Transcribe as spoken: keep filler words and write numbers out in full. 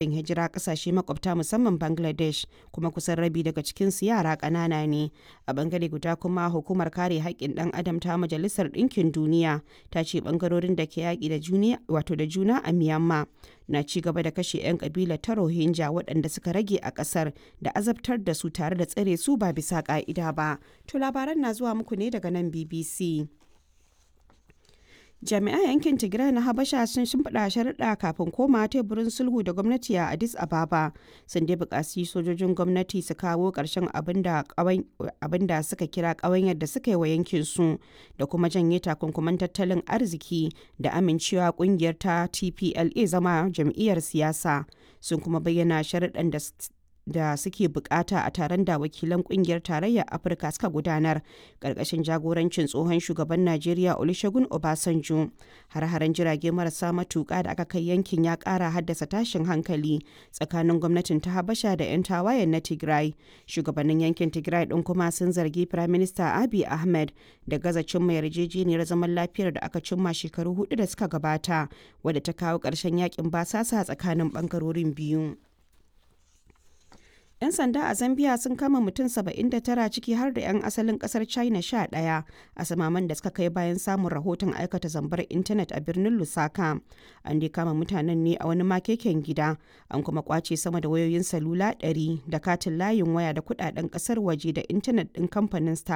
Gudun hijira kasashe makwabta musamman Bangladesh, kuma kusan rabi daga cikinsu yara ƙanana ne. A bangare guda kuma, Hukumar Kare Haƙƙin Ɗan Adam ta Majalisar Ɗinkin Duniya ta ce bangarorin da ke yaƙi da juna a Myanmar na ci gaba da kashe 'yan kabilar ta Rohingya waɗanda suka rage a ƙasar da azabtar da su tare da tsare su ba bisa ƙa'ida ba. To labaran na zuwa muku ne daga nan B B C. Jami'an yankin Tigray na Habasha sun shimfiɗa sharuɗa kafin komawa teburin sulhu da gwamnati a Addis Ababa. Sun dai buƙaci sojojin gwamnati su kawo ƙarshen abin da suka kira ƙawanyar da suka yi wa yankinsu da kuma janye takunkuman tattalin arziki da amincewa ƙungiyar ta T P L A zama jam'iyyar siyasa. Sun kuma bayyana sharuɗan da da suke bukata a taron da wakilan kungiyar Tarayyar Afirka suka gudanar karkashin jagorancin tsohon shugaban Najeriya Olusegun Obasanjo. Har-haren jirage marasa matuka da aka kai yankin ya kara haddasa tashin hankali tsakanin gwamnatin ta Habasha da 'yan tawayen na Tigray. Shugabannin yankin Tigray din kuma sun zargi Prime Minister Abiy Ahmed da gaza cimma yarjejeniyar zaman lafiyar da aka cimma shekaru hudu da suka gabata, wadda ta kawo ƙarshen yakin basasa tsakanin bangarorin biyu. 'Yan sanda a Zambia sun kama mutum saba'in da tara, ciki har da 'yan asalin kasar China sha ɗaya, a samaman da suka kai bayan samun rahoton aikata zambar intanet a birnin Lusaka. An dai kama mutanen ne a wani makeken gida, an kuma kwace sama da wayoyin salula ɗari da katin layin waya da kudaden kasar waje da intanet ɗin kamfanin Starlink.